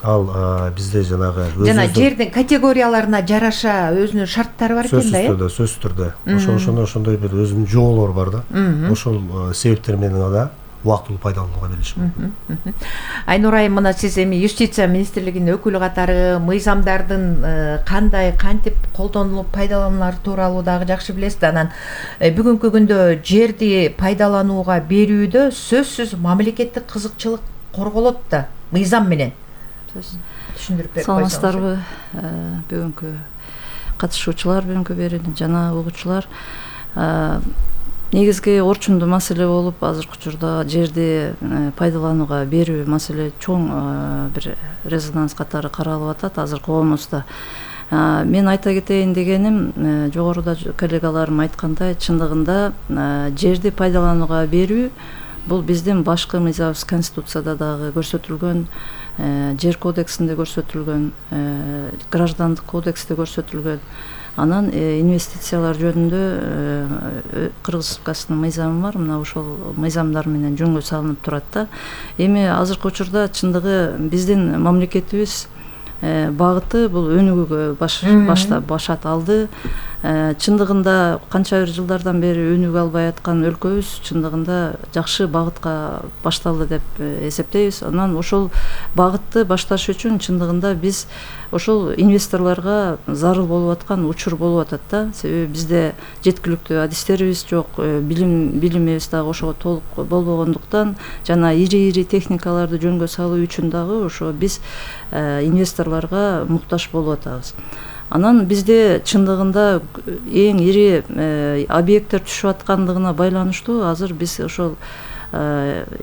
Ал бизде жанагы жана жердин категорияларына жараша өзүнүн шарттары бар экен да, сөзсүз түрдө ошондой бир өзүнүн жоолору бар да. Ошол себептер менен гана убактылуу пайдаланууга берилиши мүмкүн. Айнур айым, мына сиз эми юстиция министрлигинин өкүлү катары мыйзамдардын кандай кантип колдонулуп пайдаланулары тууралуу дагы жакшы билесиз да. Анан бүгүнкү күндө жерди пайдаланууга берүүдө сөзсүз мамлекеттик кызыкчылык корголот да мыйзам менен. Түшүндүрүп берип койсоңуз. Саламатсыздарбы бүгүнкү катышуучулар, бүгүнкү берүүнү жана угуучулар. Негизги орчундуу маселе болуп азыркы учурда жерди пайдаланууга берүү маселе чоң бир резонанс катары каралып атат азыркы коомубузда. Мен айта кетейин дегеним, жогоруда коллегаларым айткандай, чындыгында жерди пайдаланууга берүү бул биздин башкы мыйзамыбыз Конституцияда дагы көрсөтүлгөн, жер кодексинде көрсөтүлгөн, граждандык кодексте көрсөтүлгөн. Анан инвестициялар жөнүндө Кыргыз Республикасынын мыйзамы бар. Мына ошол мыйзамдар менен жөнгө салынып турат да. Эми азыркы учурда чындыгы биздин мамлекетибиз багыты бул өнүгүүгө башат алды. Чындыгында канча бир жылдардан бери өнүгө албай аткан өлкөбүз чындыгында жакшы багытка башталды деп эсептейбиз. Анан ошол багытты башташ үчүн чындыгында биз ошол инвесторлорго зарыл болуп аткан учур болуп атат да. Себеби бизде жеткиликтүү адистерибиз жок, билимибиз дагы ошого толук болбогондуктан жана ири техникаларды жөнгө салуу үчүн дагы ошо биз инвесторлорго муктаж болуп атабыз. Анан бизде чындыгында эң ири объекттер түшүп аткандыгына байланыштуу азыр биз ошол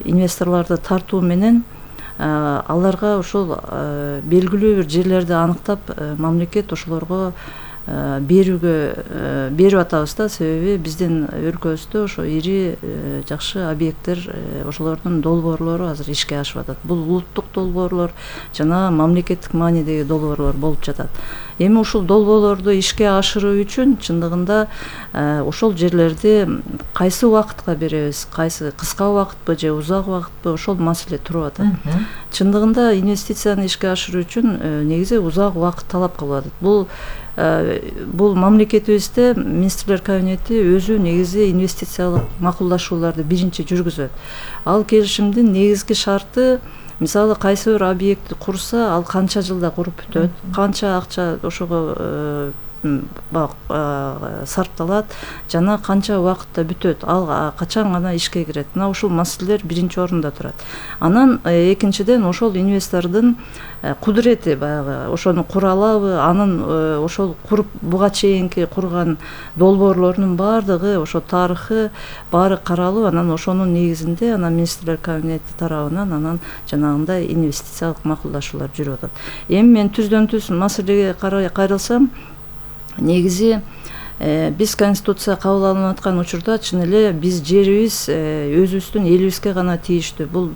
инвесторлорду тартуу менен аларга ошол белгилүү бир жерлерди аныктап мамлекет ошолорго берип атабыз да. Себеби биздин өлкөбүздө ошо ири жакшы объекттер, ошолордун долбоорлору азыр ишке ашып атат. Бул улуттук долбоорлор жана мамлекеттик маанидеги долбоорлор болуп жатат. Эми ушул долбоорлорду ишке ашыруу үчүн чындыгында ошол жерлерди кайсы убакытка беребиз, кайсы кыска убакытпы же узак убакытпы, ошол маселе туруп атат. Чындыгында инвестицияны ишке ашыруу үчүн негизи узак убакыт талап кылып атат. Бул мамлекетибизде министрлер кабинети өзү негизи инвестициялык макулдашууларды биринчи жүргүзөт. Ал келишимдин негизги шарты, мисалы кайсы бир объектти курса, ал канча жылда куруп бүтөт, канча акча ошого сарпталат жана канча убакытта бүтөт, ал качан гана ишке кирет. Мына ушул маселелер биринчи орунда турат. Анан экинчиден ошол инвестордун кудурети, баягы ошону кура алабы, анын ошол куруп буга чейинки курган долбоорлорунун баардыгы, ошо тарыхы баары каралып, анан ошонун негизинде анан министрлер кабинети тарабынан анан жанагындай инвестициялык макулдашуулар жүрүп атат. Эми мен түздөн түз маселеге кайрылсам, негизи биз Конституция кабыл алынып аткан учурда чын эле биз жерибиз өзүбүздүн элибизге гана тийиштүү. Бул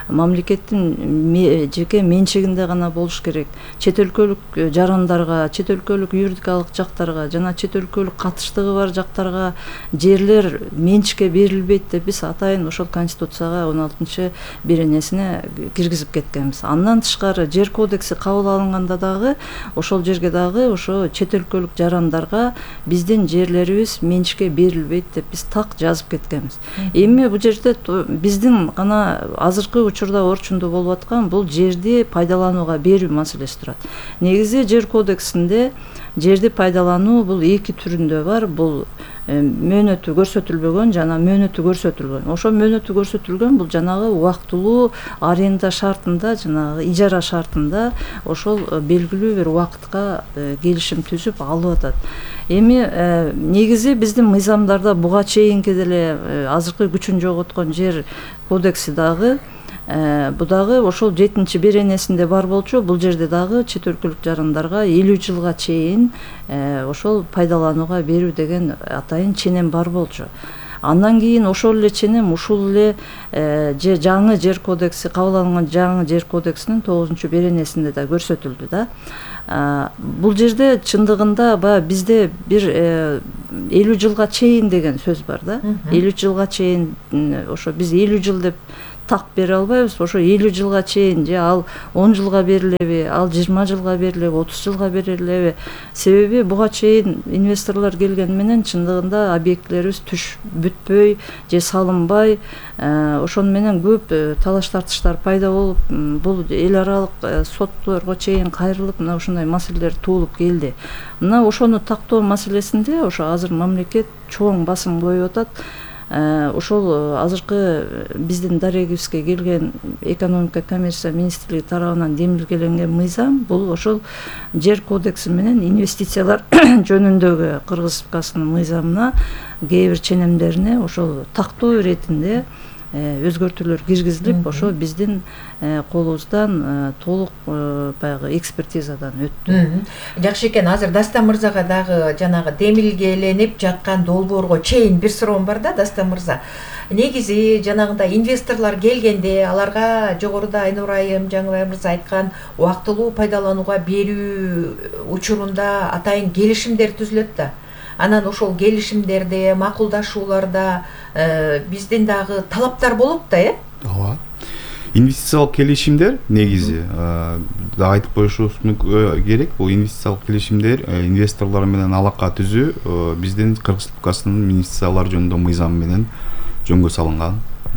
мамлекеттин жеке менчигинде гана болуш керек. Чет өлкөлүк жарандарга, чет өлкөлүк юридикалык жактарга жана чет өлкөлүк катыштыгы бар жактарга жерлер менчикке берилбейт деп биз атайын ошол Конституцияга 16-беренесине киргизип кеткенбиз. Андан тышкары жер кодекси кабыл алынганда дагы ошол жерге дагы ошо чет өлкөлүк жарандарга биздин жерлерибиз менчикке берилбейт деп биз так жазып кеткенбиз. Эми бул жерде биздин гана азыркы учурда орчундуу болуп аткан бул жерди пайдаланууга берүү маселеси турат. Негизи жер кодексинде жерди пайдалануу бул эки түрүндө бар. Бул мөөнөтү көрсөтүлбөгөн жана мөөнөтү көрсөтүлгөн. Ошо мөөнөтү көрсөтүлгөн бул жанагы убактылуу аренда шартында, жанагы ижара шартында ошол белгилүү бир убакытка келишим түзүп алып атат. Эми негизи биздин мыйзамдарда буга чейинки деле азыркы күчүн жоготкон жер кодекси дагы бу дагы ошол 7-беренесинде бар болчу. Бул жерде дагы чет өлкөлүк жарандарга 50 жылга чейин ошол пайдаланууга берүү деген атайын ченем бар болчу. Андан кийин ошол эле ченем ушул эле жаңы жер кодекси, кабыл алынган жаңы жер кодексинин 9-беренесинде да көрсөтүлдү да. Бул жерде чындыгында баягы бизде бир 50 жылга чейин деген сөз бар да. 50 жылга чейин ошо биз 50 жыл деп так бере албайбыз. Ошо 50 жылга чейин же ал 10 жылга берилеби, ал 20 жылга берилеби, 30 жылга берилеби? Себеби буга чейин инвесторлор келген менен чындыгында объектилерибиз түш бүтпөй же салынбай, ошону менен көп талаш тартыштар пайда болуп, бул эл аралык сотторго чейин кайрылып, мына ушундай маселелер туулуп келди. Мына ошону тактоо маселесинде ошо азыр мамлекет чоң басым коюп атат. Ошол азыркы биздин дарегибизге келген экономика коммерция министрлиги тарабынан демилгеленген мыйзам бул ошол жер кодекси менен инвестициялар жөнүндөгү Кыргыз Республикасынын мыйзамына кээ бир ченемдерине ошол тактоо иретинде өзгөртүүлөр киргизилип, ошо биздин колубуздан толук баягы экспертизадан өттү. Жакшы экен. Азыр Дастан мырзага дагы жанагы демилгеленип жаткан долбоорго чейин бир суроом бар да, Дастан мырза. Негизи жанагындай инвесторлор келгенде аларга жогоруда Айнур айым, Жаңыбай мырза айткан убактылуу пайдаланууга берүү учурунда атайын келишимдер түзүлөт да. Анан ошол келишимдерде, макулдашууларда биздин дагы талаптар болот да, Ооба. Инвестициялык келишимдер негизи айтып коюшубуз керек. Бул инвестициялык келишимдер инвесторлор менен алака түзүү биздин Кыргыз Республикасынын инвестициялар жөнүндө мыйзамы менен жөнгө салынган.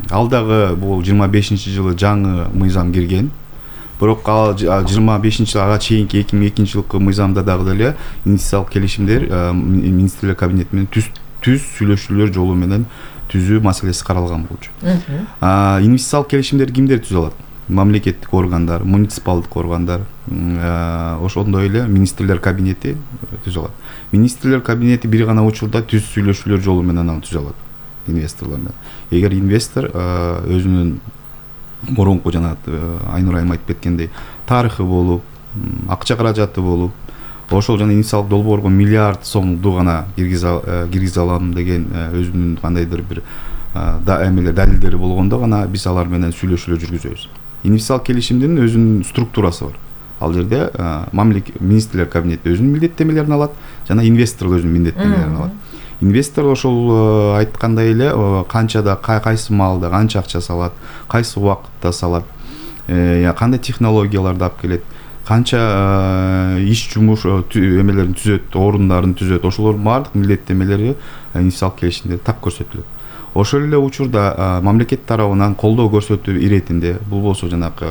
Ал дагы бул 25-жылы жаңы мыйзам кирген. Бирок ал 25-жылга чейинки 2002-жылкы мыйзамда дагы деле инвестициялык келишимдер министрлер кабинети менен түз сүйлөшүүлөр жолу менен түзүү маселеси каралган болчу. Инвестициялык келишимдерди кимдер түзө алат? Мамлекеттик органдар, муниципалдык органдар, ошондой эле министрлер кабинети түзө алат. Министрлер кабинети бир гана учурда түз сүйлөшүүлөр жолу менен аны түзө алат инвесторлор менен. Эгер инвестор өзүнүн мурунку жана Айнур айым айтып кеткендей тарыхы болуп, акча каражаты болуп, ошол жана инвестициялык долбоорго миллиард сомду гана киргизе алам деген өзүнүн кандайдыр бир далилдери болгондо гана биз алар менен сүйлөшүүлөр жүргүзөбүз. Инвестициялык келишимдин өзүнүн структурасы бар. Ал жерде министрлер кабинети өзүнүн милдеттемелерин алат жана инвестор өзүнүн милдеттемелерин алат. Инвестор ошол айткандай эле канчада, кайсы маалда канча акча салат, кайсы убакытта салат, кандай технологияларды алып келет, канча иш жумуш эмелерин түзөт, орундарын түзөт, ошолордун баардык милдеттемелери инвестициялык келишимде так көрсөтүлөт. Ошол эле учурда мамлекет тарабынан колдоо көрсөтүү иретинде, бул болсо жанагы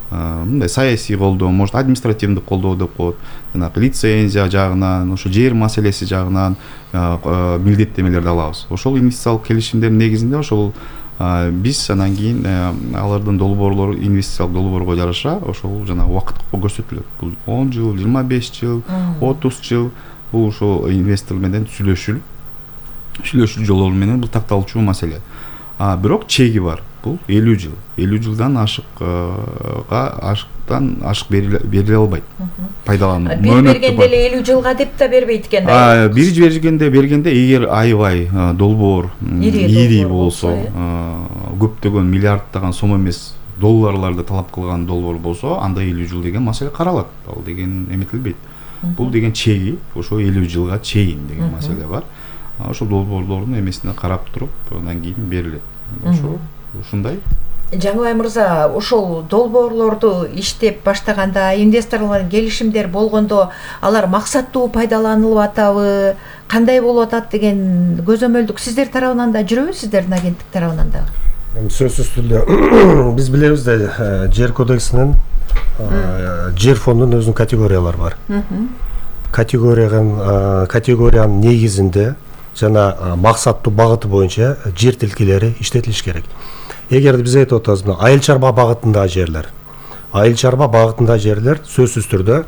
мындай саясий колдоо, может административдик колдоо деп коет, жанагы лицензия жагынан, ошо жер маселеси жагынан милдеттемелерди алабыз. Ошол инвестициялык келишимдердин негизинде ошол биз анан кийин алардын долбоорлору инвестициялык долбоорго жараша ошол жана убакытка көрсөтүлөт. Бул 10 жыл, 25 жыл, 30 жыл бул ошо инвестор менен сүйлөшүү жолу менен бул такталчу маселе. Бирок чеги бар. Бул 50 жыл. 50 жылдан ашык бериле албайт. Пайдалануу. Бир бергенде эле 50 жылга деп да бербейт экен да. Бир бергенде эгер аябай долбоор ири болсо, көптөгөн миллиарддаган сом эмес долларларды талап кылган долбоор болсо, анда 50 жыл деген маселе каралат. Ал деген эметилбейт. Бул деген чеги, ошо 50 жылга чейин деген маселе бар. Ошо долбоорлордун эмесине карап туруп, андан кийин берилет. Ушундай. Жаңыбай мырза, ошол долбоорлорду иштеп баштаганда, инвесторлор келишимдер болгондо, алар максаттуу пайдаланылып атабы, кандай болуп атат деген көзөмөлдүк сиздер тарабынан да жүрөбү, сиздердин агенттик тарабынан да? Сөзсүз түрдө биз билебиз да, жер кодексинин жер фондунун өзүнүн категориялары бар. Категориянын негизинде жана максаттуу багыты боюнча жер тилкелери иштетилиш керек. Эгерде биз айтып атабыз, айыл чарба багытындагы жерлер, сөзсүз түрдө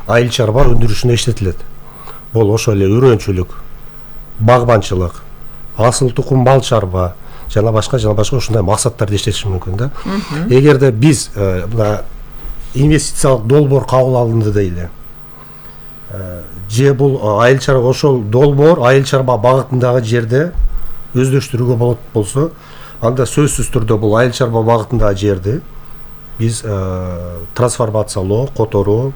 айыл чарба өндүрүшүнө иштетилет. Бул ошол эле үрөнчүлүк, багбанчылык, асыл тукум бал чарба жана башка ушундай максаттарды иштетиш мүмкүн да. Эгерде биз мына инвестициялык долбоор кабыл алынды дейли, же бул айыл чарба ошол долбоор айыл чарба багытындагы жерде өздөштүрүүгө болот болсо, анда сөзсүз түрдө бул айыл чарба багытындагы жерди биз трансформациялоо, которуу,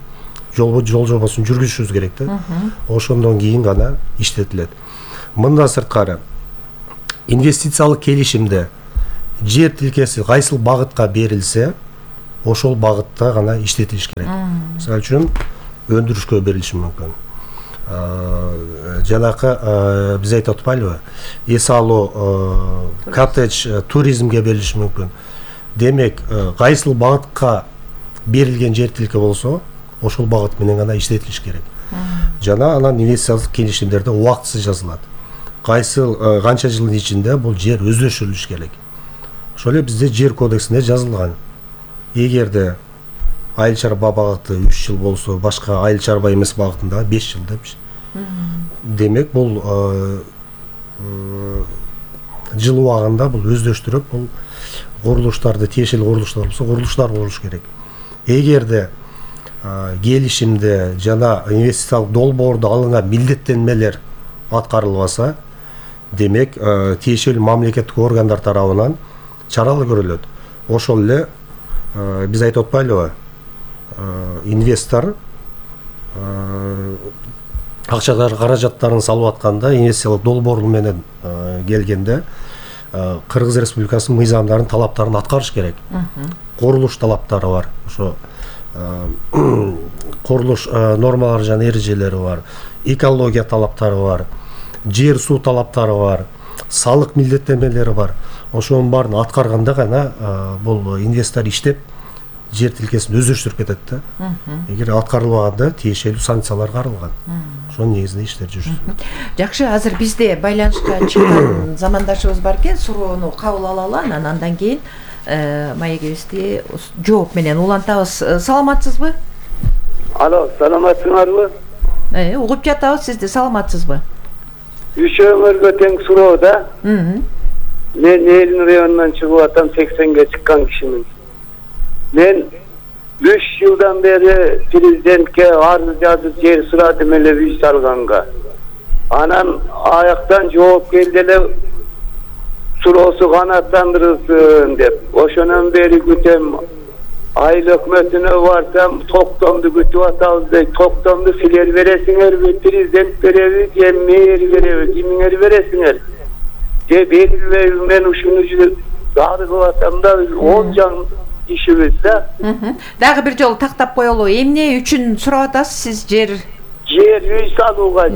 жол жобосун жүргүзүшүбүз керек да. Ошондон кийин гана иштетилет. Мындан сырткары инвестициялык келишимде жер тилкеси кайсыл багытка берилсе ошол багытта гана иштетилиш керек. Мисалы үчүн өндүрүшкө берилиши мүмкүн. Жанакы биз айтып атпайлыбы, эс алуу, коттедж, туризмге берилиши мүмкүн. Демек, кайсыл багытка берилген жер тилке болсо, ошол багыт менен гана иштетилиш керек. Жана анан инвестициялык келишимдерде убактысы жазылат. Кайсыл канча жылдын ичинде бул жер өздөштүрүлүш керек. Ошол эле бизде жер кодексинде жазылган. Эгерде айыл чарба багыты 3 жыл болсо, башка айыл чарба эмес багытында 5 жыл депчи. Демек, бул жыл убагында бул өздөштүрүп, бул курулуштарды, тиешелүү курулуштар болсо, курулуштар болуш керек. Эгерде келишимде жана инвестициялык долбоордо алынган милдеттенмелер аткарылбаса, демек, тиешелүү мамлекеттик органдар тарабынан чаралар көрүлөт. Ошол эле биз айтып атпайлыбы, инвестор каражаттарын салып атканда, инвестициялык долбоор менен келгенде Кыргыз Республикасынын мыйзамдарын, талаптарын аткарыш керек. Курулуш талаптары бар. Ошо курулуш нормалары жана эрежелери бар, экология талаптары бар, жер суу талаптары бар, салык милдеттенмелери бар. Ошонун баарын аткарганда гана бул инвестор иштеп жер тилкесин өздөштүрүп кетет да. Эгер аткарылбаганда тиешелүү санкциялар каралган. Ошонун негизинде иштер жүрүшөт. Жакшы, азыр бизде байланышка чыккан замандашыбыз бар экен, суроону кабыл алалы, андан кийин маегибизди жооп менен улантабыз. Саламатсызбы? Алло, саламатсыңарбы? Угуп жатабыз сизди, саламатсызбы? Үшөөңөргө тең суроо да. Мен Элин районунан чыгып атам, 80ге чыккан кишимин. Мен 3 жылдан бери президентке арыз жазып жер сурадым эле үй салганга. Анан аяктан жооп келди эле, суроосу канааттандырылсын деп. Ошонон бери күтөм. Айыл өкмөтүнө барсам, токтомду күтүп атабыз дейт. Токтомду силер бересиңерби, президент береби, же мэр береби, кимиңер бересиңер? Же берилбейби? Мен ушуну арызып атам да, 10 жан ишибиз да. Дагы бир жолу тактап коелу. Эмне үчүн сурап атасыз сиз жер үй салууга,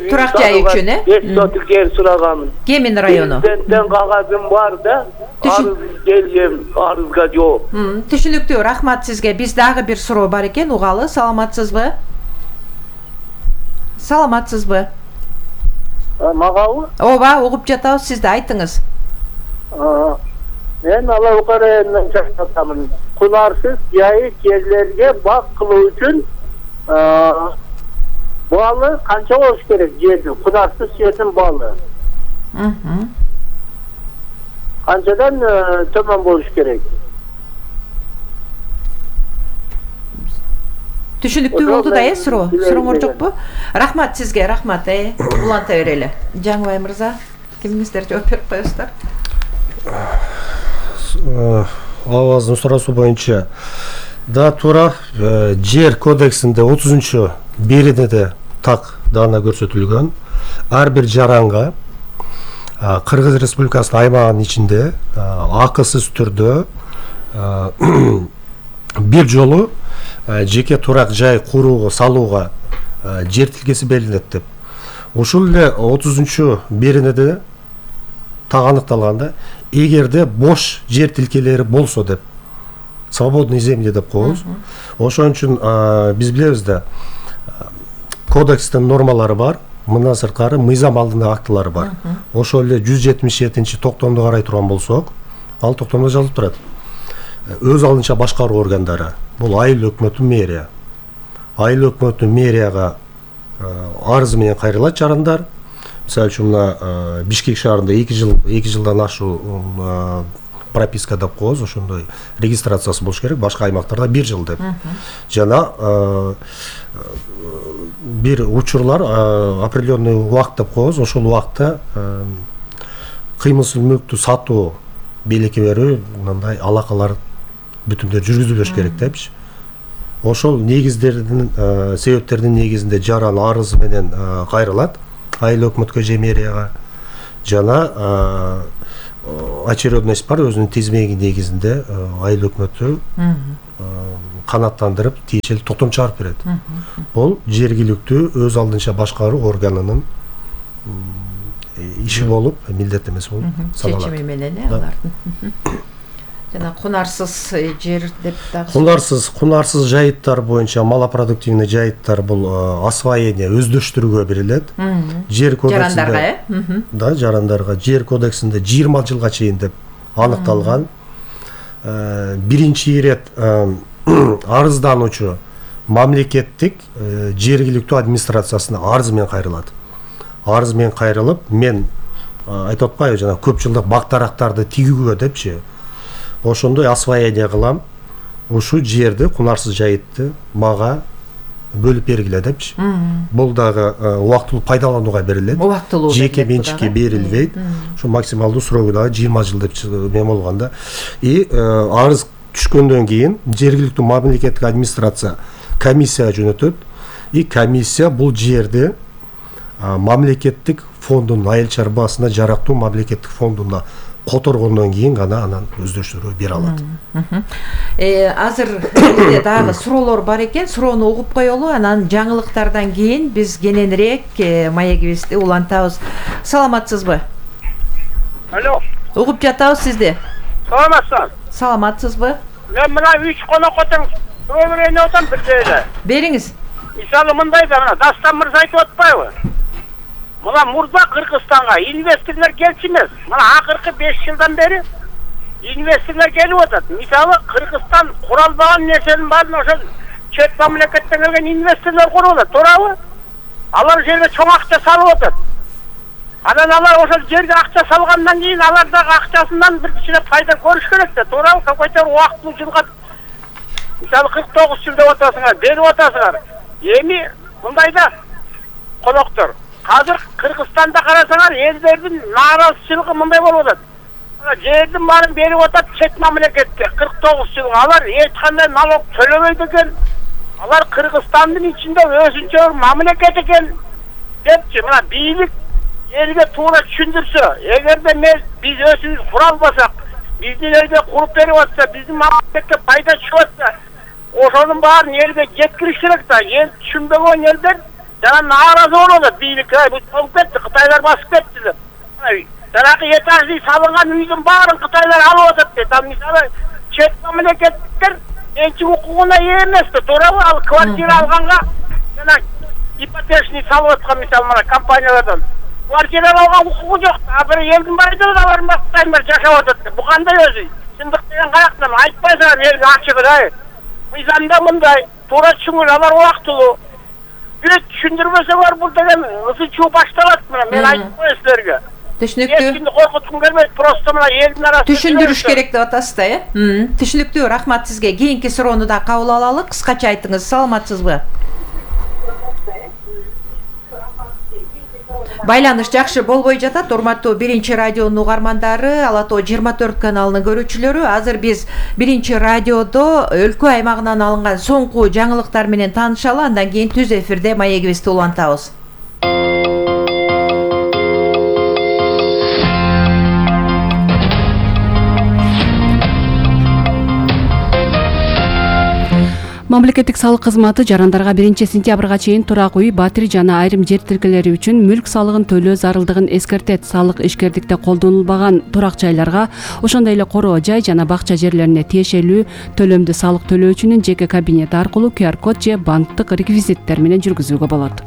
турак жай үчүн, 5 сотук жер сураганмын. Кемин району. Президенттен кагазым бар да, арыз келген, арызга жооп. Түшүнүктүү, рахмат сизге. Биз дагы бир суроо бар экен, угалы. Саламатсызбы? Саламатсызбы? Магабы? Ооба, угуп жатабыз, сизди айтыңыз. Мен Алабукар районунан чакыртамын. Кунарсыз жайы жерлерге бак кылуу үчүн баалы канча болуш керек жердин? Кунарсыз жердин баалы. Канчадан төмөн болуш керек? Түшүнүктүү болду да, сурооңор жокпу? Рахмат сизге, рахмат. Уланта берели. Жаңыбай мырза, кимиңиздер жооп берип коесуздар? Аваздын суроосу боюнча да туура, жер кодексинде 30-беренеде так даана көрсөтүлгөн. Ар бир жаранга Кыргыз Республикасынын аймагынын ичинде акысыз түрдө бир жолу жеке турак жай курууга, салууга жер тилкеси берилет деп. Ушул эле 30-беренеде так аныкталганда, эгерде бош жер тилкелери болсо деп, свободный земли деп коебуз. Ошон үчүн биз билебиз да, кодекстин нормалары бар, мындан сырткары мыйзам алдындагы актылары бар. Ошол эле 177 токтомду карай турган болсок, ал токтомдо жазылып турат. Өз алынча башкаруу органдары, бул айыл өкмөтү, мэрия. Айыл өкмөтү мэрияга арыз менен кайрылат жарандар. Мисалы үчүн мына Бишкек шаарында 2 жылдан ашуу прописка деп коебуз, ошондой регистрациясы болуш керек, башка аймактарда 1 жыл деп. Жана бир учурлар определенный убакыт деп коебуз, ошол убакытта кыймылсыз мүлктү сатуу, белекке берүү, мындай алакалар бүтүндөр жүргүзүлүш керек депчи. Ошол негиздердин, себептердин негизинде жаран арызы менен кайрылат айыл өкмөткө же мэрияга. Жана очередность бар, өзүнүн тизмеги негизинде айыл өкмөтү канаттандырып тиешелүү токтом чыгарып берет. Бул жергиликтүү өз алдынча башкаруу органынын иши болуп, милдет эмес болуп саналат. Чечими менен алардын. Жана кунарсыз жер деп дагы. Кунарсыз жайыттар боюнча малопродуктивный жайыттар бул освоение өздөштүрүүгө берилет. Жер кодексинде жарандарга, да, жарандарга жер кодексинде 20 жылга чейин деп аныкталган. Биринчи ирет арыздануучу мамлекеттик жергиликтүү администрациясына арыз менен кайрылат. Арыз менен кайрылып, мен айтып атпайбы жана көп жылдык бактарактарды тигүүгө депчи, ошондой освоение кылам, ушу жерди, кунарсыз жайытты мага бөлүп бергиле депчи. Бул дагы убактылуу пайдаланууга берилет. Жеке менчикке берилбейт. Ушу максималдуу срогу дагы 20 жыл деп мен болгондо. Арыз түшкөндөн кийин жергиликтүү мамлекеттик администрация комиссия жөнөтөт. Комиссия бул жерди мамлекеттик фондунун айыл чарбасына жарактуу мамлекеттик фондуна которгондон кийин гана анан өздөштүрүүгө бере алат. Азыр элде дагы суроолор бар экен, суроону угуп коелу, анан жаңылыктардан кийин биз кененирээк маегибизди улантабыз. Саламатсызбы? Алло. Угуп жатабыз сизди. Саламатсызбы? Саламатсызбы? Мен мына 3 конокотун суроо берейин деп атам бирде эле. Бериңиз. Мисалы мындай да, мына Дастан мырза айтып атпайбы? Мына мурда Кыргызстанга инвесторлор келчү эмес. Мына акыркы 5 жылдан бери инвесторлор келип атат. Мисалы Кыргызстан куралбаган нерсенин баарын ошол чет мамлекеттен келген инвесторлор куруп атат, туурабы? Алар жерге чоң акча салып атат. Анан алар ошол жерге акча салгандан кийин алар дагы акчасынан бир кичине пайда көрүш керек да, туурабы? Какой-то убактылуу жылга мисалы 49 жыл деп атасыңар, берип атасыңар. Эми мындайда коноктор азыр Кыргызстанда карасаңар, элдердин нааразычылыгы мындай болуп атат. Жердин баарын берип атат чет мамлекетке 49 жылга. Алар эч кандай налог төлөбөйт экен. Алар Кыргызстандын ичинде өзүнчө мамлекет экен депчи, мына бийлик элге туура түшүндүрсө, эгерде биз өзүбүз кура албасак, биздин элге куруп берип атса, биздин мамлекетке пайда чыгып атса, ошонун баарын элге жеткириш керек да. Эл түшүнбөгөн элдер жана нааразы болуп атат бийликке. Бул болуп кетти, Кытайлар басып кетти деп. Жанагы этажный салынган үйдүн баарын Кытайлар алып атат дейт. Ал мисалы чет мамлекеттер менчик укугуна ээ эмес да, туурабы? Ал квартира алганга жана ипотечный салып аткан мисалы мына компаниялардан квартира алганга укугу жок. Бир элдин баары алардын бактайымдар жашап атат. Бу кандай өзү? Чындык деген каяктан айтпайсыңар элге ачыгы. Мыйзамда мындай, туура түшүнгүл, алар убактылуу. Бир түшүндүрбөсөңөр бул деген ысычуу башталат. Мына мен айтып коеюн силерге. Түшүнүктүү. Эчкимди коркуткум келбейт, просто мына элдин арасында Түшүндүрүш керек деп атасыз да, Түшүнүктүү, рахмат сизге. Кийинки суроону да кабыл алалы. Кыскача айтыңыз, саламатсызбы? Байланыш жакшы болбой жатат, урматтуу Биринчи радионун угармандары, Ала Тоо 24 каналынын көрүүчүлөрү. Азыр биз Биринчи радиодо өлкө аймагынан алынган соңку жаңылыктар менен таанышалы, андан кийин түз эфирде маегибизди улантабыз. Мамлекеттик салык кызматы жарандарга 1-сентябрга чейин турак үй, батир жана айрым жер тилкелери үчүн мүлк салыгын төлөө зарылдыгын эскертет. Салык ишкердикте колдонулбаган турак жайларга, ошондой эле короо жай жана бакча жерлерине тиешелүү төлөмдү салык төлөөчүнүн жеке кабинети аркылуу QR код же банктык реквизиттер менен жүргүзүүгө болот.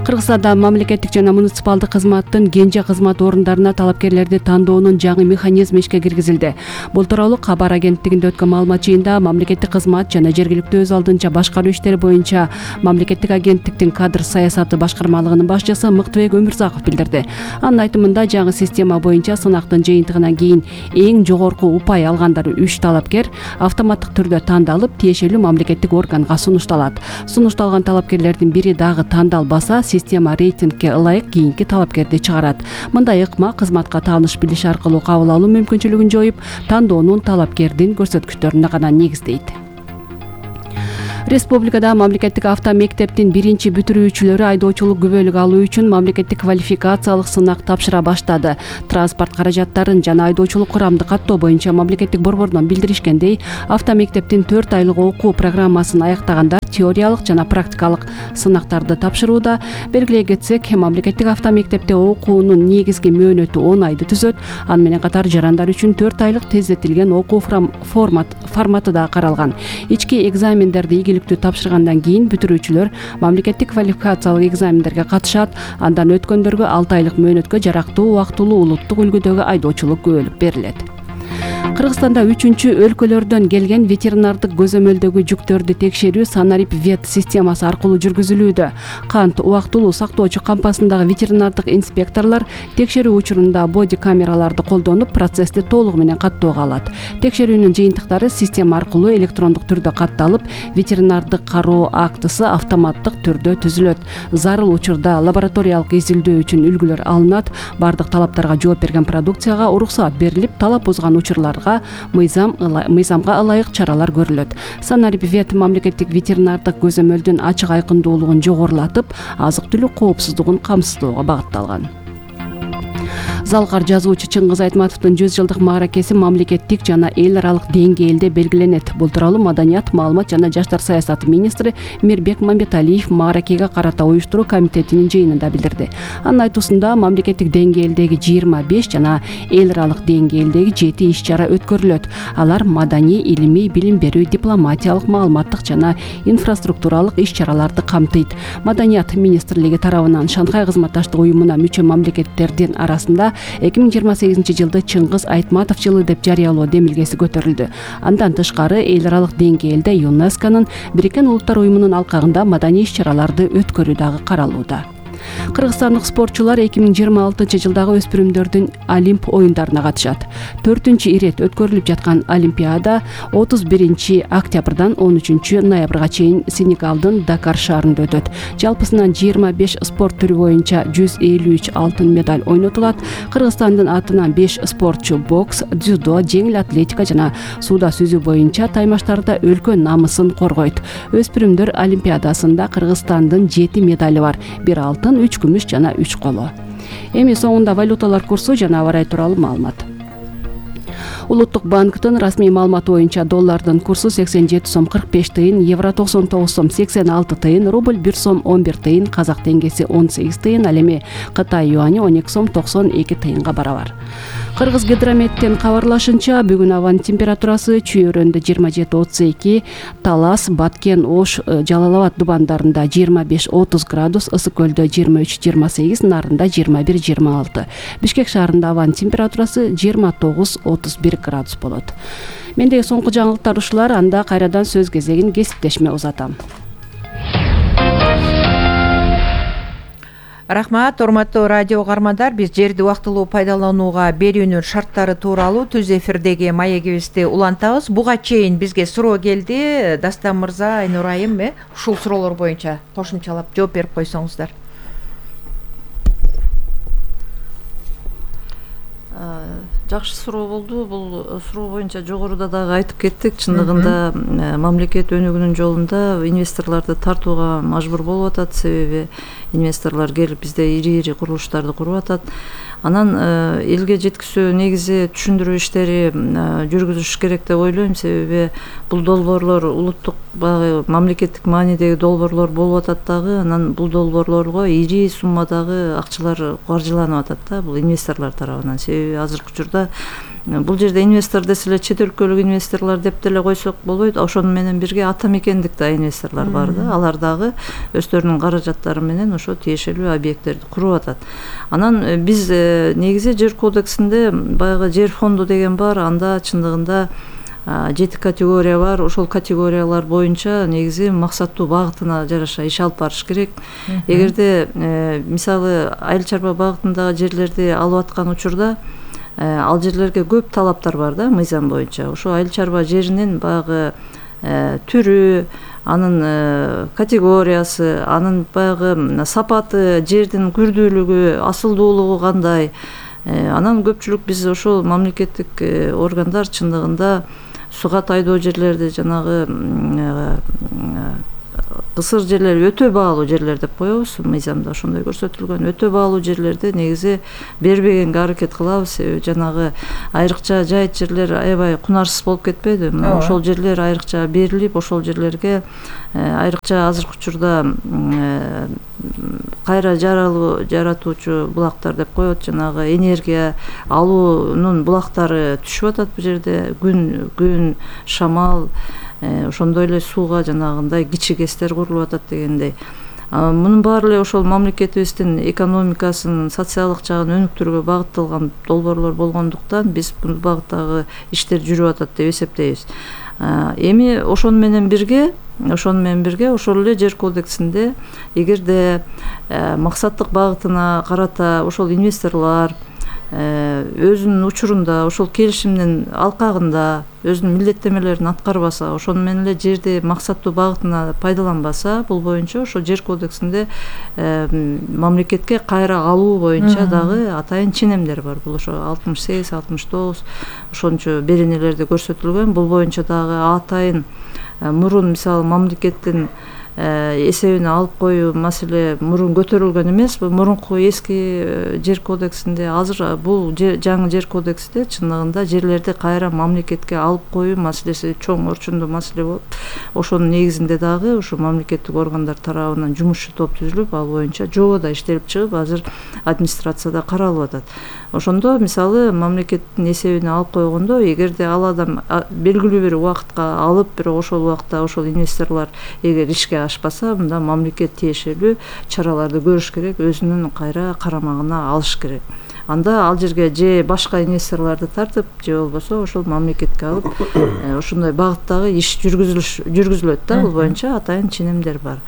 Кыргызстанда мамлекеттик жана муниципалдык кызматтын кенже кызмат орундарына талапкерлерди тандоонун жаңы механизми ишке киргизилди. Бул тууралуу кабар агенттигинде өткөн маалымат жыйында мамлекеттик кызмат жана жергиликтүү өз алдынча башкаруу иштери боюнча мамлекеттик агенттиктин кадр саясаты башкармалыгынын башчысы Мыктыбек Өмүрзаков билдирди. Анын айтымында жаңы система боюнча сынактын жыйынтыгынан кийин эң жогорку упай алгандар 3 талапкер автоматтык түрдө тандалып, тиешелүү мамлекеттик органга сунушталат. Сунушталган талапкерлердин бири дагы тандалбаса, система рейтингке ылайык кийинки талапкерди чыгарат. Мындай ыкма кызматка тааныш билиш аркылуу кабыл алуу мүмкүнчүлүгүн жоюп, тандоонун талапкердин көрсөткүчтөрүнө гана негиздейт. Республикада мамлекеттик автомектептин биринчи бүтүрүүчүлөрү айдоочулук күбөлүк алуу үчүн мамлекеттик квалификациялык сынак тапшыра баштады. Транспорт каражаттарын жана айдоочулук курамды каттоо боюнча мамлекеттик борбордон билдиришкендей, автомектептин 4 айлык окуу программасын аяктагандар теориялык жана практикалык сынактарды тапшырууда. Белгилей кетсек, мамлекеттик автомектепте окуунун негизги мөөнөтү 10 айды түзөт. Аны менен катар жарандар үчүн 4 айлык тездетилген окуу форматы да каралган. Ички экзамендерди ийгиликтүү тапшыргандан кийин бүтүрүүчүлөр мамлекеттик квалификациялык экзамендерге катышат. Андан өткөндөргө 6 айлык мөөнөткө жарактуу убактылуу улуттук үлгүдөгү айдоочулук күбөлүк берилет. Кыргызстанда 3-чү өлкөлөрдөн келген ветеринардык көзөмөлдөгү жүктөрдү текшерүү Санарип вет системасы аркылуу жүргүзүлүүдө. Кант убактылуу сактоочу кампасындагы ветеринардык инспекторлор текшерүү учурунда боди камераларды колдонуп, процессти толугу менен каттоого алат. Текшерүүнүн жыйынтыктары система аркылуу электрондук түрдө катталып, ветеринардык кароо актысы автоматтык түрдө түзүлөт. Зарыл учурда лабораториялык изилдөө үчүн үлгүлөр алынат. Бардык талаптарга жооп берген продукцияга уруксаат берилип, талап бузган учурларга мыйзамга ылайык чаралар көрүлөт. Санарип вет мамлекеттик ветеринардык көзөмөлдүн ачык айкындуулугун жогорулатып, азык-түлүк коопсуздугун камсыздоого багытталган. Залкар жазуучу Чыңгыз Айтматовдун 100 жылдык мааракеси мамлекеттик жана эл аралык деңгээлде белгиленет. Бул тууралуу Маданият, маалымат жана жаштар саясаты министри Мирбек Мамбеталиев мааракеге карата уюштуруу комитетинин жыйынында билдирди. Анын айтуусунда мамлекеттик деңгээлдеги 25 жана эл аралык деңгээлдеги 7 иш-чара өткөрүлөт. Алар маданий, илимий, билим берүү, дипломатиялык, маалыматтык жана инфраструктуралык иш-чараларды камтыйт. Маданият министрлиги тарабынан Шанхай кызматташтык уюмуна мүчө мамлекеттердин арасында 2028 жылды Чыңгыз Айтматов жылы деп жарыялоо демилгеси көтөрүлдү. Андан тышкары эл аралык деңгээлде ЮНЕСКОнун Бириккен Улуттар уюмунун алкагында маданий иш-чараларды өткөрүү дагы каралууда. Кыргызстандык спортчулар 2026 жылдагы өспүрүмдөрдүн Олимп оюндарына катышат. 4-чү ирет өткөрүлүп жаткан Олимпиада 31 октябрдан 13 ноябрга чейин Сенегалдын Дакар шаарында өтөт. Жалпысынан 25 спорт түрү боюнча 153 алтын медаль ойнотулат. Кыргызстандын атынан 5 спортчу бокс, дзюдо, жеңил атлетика жана сууда сүзүү боюнча таймаштарда өлкө намысын коргойт. Өспүрүмдөр Олимпиадасында Кыргызстандын 7 медали бар. 1 алтын, 3 күмүш жана 3 коло. Эми соңунда валюталар курсу жана аба ырайы тууралуу маалымат. Улуттук банктын расмий маалыматы боюнча доллардын курсу 87 сом 45 тыйын, евро 99 сом 86 тыйын, рубль 1 сом 11 тыйын, казак теңгеси 18 тыйын, ал эми Кытай юани 12 сом 92 тыйынга барабар. Кыргыз гидрометтен кабарлашынча, бүгүн абанын температурасы Чүй-Өрөндө 27-32, Талас, Баткен, Ош, Жалал-Абад дубандарында 25-30 градус, Ысык көлдө 23-28, Нарында 21-26. Бишкек шаарында абанын температурасы 29-31 градус болот. Мендеги соңку жаңылыктар ушулар, анда кайрадан сөз кезегин кесиптешиме узатам. Рахмат, урматтуу радио угармандар, биз жерди убактылуу пайдаланууга берүүнүн шарттары тууралуу түз эфирдеги маегибизди улантабыз. Буга чейин бизге суроо келди. Дастан мырза, Айнур айым, ушул суроолор боюнча кошумчалап жооп берип койсоңуздар. Жакшы суроо болду. Бул суроо боюнча жогоруда дагы айтып кеттик. Чындыгында мамлекет өнүгүүнүн жолунда инвесторлорду тартууга мажбур болуп атат. Себеби инвесторлор келип бизде ири курулуштарды куруп атат. Анан элге жеткизүү негизи түшүндүрүү иштери жүргүзүш керек деп ойлойм. Себеби бул долбоорлор улуттук баягы мамлекеттик маанидеги долбоорлор болуп атат дагы. Анан бул долбоорлорго ири суммадагы акчалар каржыланып атат да, бул инвесторлор тарабынан. Себеби азыркы учурда бул жерде инвестор десе эле чет өлкөлүк инвесторлор деп деле койсок болбойт. Ошону менен бирге атамекендик да инвесторлор бар да. Алар дагы өздөрүнүн каражаттары менен ошо тиешелүү объекттерди куруп атат. Анан биз негизи жер кодексинде баягы жер фонду деген бар. Анда чындыгында 7 категория бар. Ошол категориялар боюнча негизи максаттуу багытына жараша иш алып барыш керек. Эгерде мисалы айыл чарба багытындагы жерлерди алып аткан учурда ал жерлерге көп талаптар бар да, мыйзам боюнча. Ошо айыл чарба жеринин баягы түрү, анын категориясы, анын баягы сапаты, жердин күрдүүлүгү, асылдуулугу кандай. Анан көпчүлүк биз ошол мамлекеттик органдар чындыгында суга тайдоо жерлерди жанагы кысыр жерлер өтө баалуу жерлер деп коебуз, мыйзамда ошондой көрсөтүлгөн. Өтө баалуу жерлерди негизи бербегенге аракет кылабыз. Жанагы айрыкча жайыт жерлер аябай кунарсыз болуп кетпейби? Ошол жерлер айрыкча берилип, ошол жерлерге айрыкча азыркы учурда кайра жаратуучу булактар деп коет, жанагы энергия алуунун булактары түшүп атат бул жерде. Күн, шамал, ошондой эле сууга жанагындай кичи гэстер курулуп атат дегендей. Мунун баары эле ошол мамлекетибиздин экономикасын, социалдык жагын өнүктүрүүгө багытталган долбоорлор болгондуктан биз бул багыттагы иштер жүрүп атат деп эсептейбиз. Эми ошону менен бирге ошол эле жер кодексинде эгерде максаттык багытына карата ошол инвесторлор өзүнүн учурунда ошол келишимдин алкагында өзүнүн милдеттемелерин аткарбаса, ошону менен эле жерди максаттуу багытына пайдаланбаса, бул боюнча ошол жер кодексинде мамлекетке кайра алуу боюнча дагы атайын ченемдер бар. Бул ошо 68-69 ошончо беренелерде көрсөтүлгөн. Бул боюнча дагы атайын мурун мисалы мамлекеттин эсебине алып коюу маселе мурун көтөрүлгөн эмес. Бул мурунку эски жер кодексинде, азыр бул жаңы жер кодексте чындыгында жерлерди кайра мамлекетке алып коюу маселеси чоң орчундуу маселе болуп, ошонун негизинде дагы ушу мамлекеттик органдар тарабынан жумушчу топ түзүлүп, ал боюнча жобо иштелип чыгып, азыр администрацияда каралып атат. Ошондо мисалы мамлекеттин эсебине алып койгондо, эгерде ал адам белгилүү бир убакытка алып, бирок ошол убакта ошол инвесторлор эгер ишке ашпаса, мында мамлекет тиешелүү чараларды көрүш керек, өзүнүн кайра карамагына алыш керек. Анда ал жерге же башка инвесторлорду тартып, же болбосо ошол мамлекетке алып, ошондой багыттагы иш жүргүзүлөт да. Бул боюнча атайын ченемдер бар.